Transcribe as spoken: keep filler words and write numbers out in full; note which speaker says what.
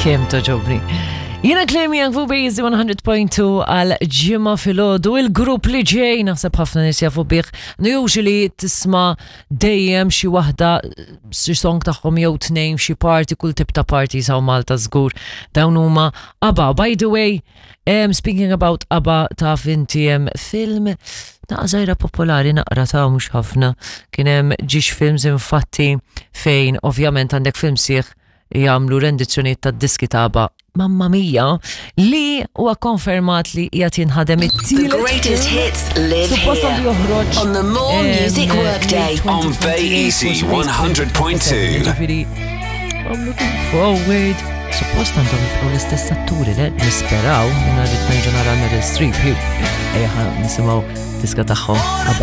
Speaker 1: Kemm togħġobni. Jiena Claire Young fuq Bejzi one hundred point two għal Ġimgħa filgħodu. Il-grupp li ġej naħseb ħafna nies jafu bih. Usually tisma' dejjem xi waħda, xi song tagħhom jew tnejn, xi party, kull tip ta' party saw Malta żgur. Dawn huma ABBA. By the way, um, speaking about ABBA, taf inti hemm film naqra żgħira popolari, naqra ta' mhux ħafna. Kien hemm ġiex films infatti fejn ovvjament għandek film sieħ jagħmlu rendizzjonijiet tad-diski ta' ABBA. Mamma mia, li huwa konfermat li qiegħed jinħadem
Speaker 2: The
Speaker 1: it-tielet
Speaker 2: greatest
Speaker 1: film.
Speaker 2: hits live
Speaker 1: Suppost
Speaker 2: here
Speaker 1: għandu joħroġ
Speaker 2: on the More
Speaker 1: em,
Speaker 2: Music Workday.
Speaker 3: On Bay Easy one hundred point two.
Speaker 1: Ġifieri, I'm looking forward. Suppost għandhom jibqgħu l-istess atturi, le? Nisperaw, jiena rrid nerġa' nara Meryl Streep. Ejja, ħa nisimgħu diska tagħhom, ABBA.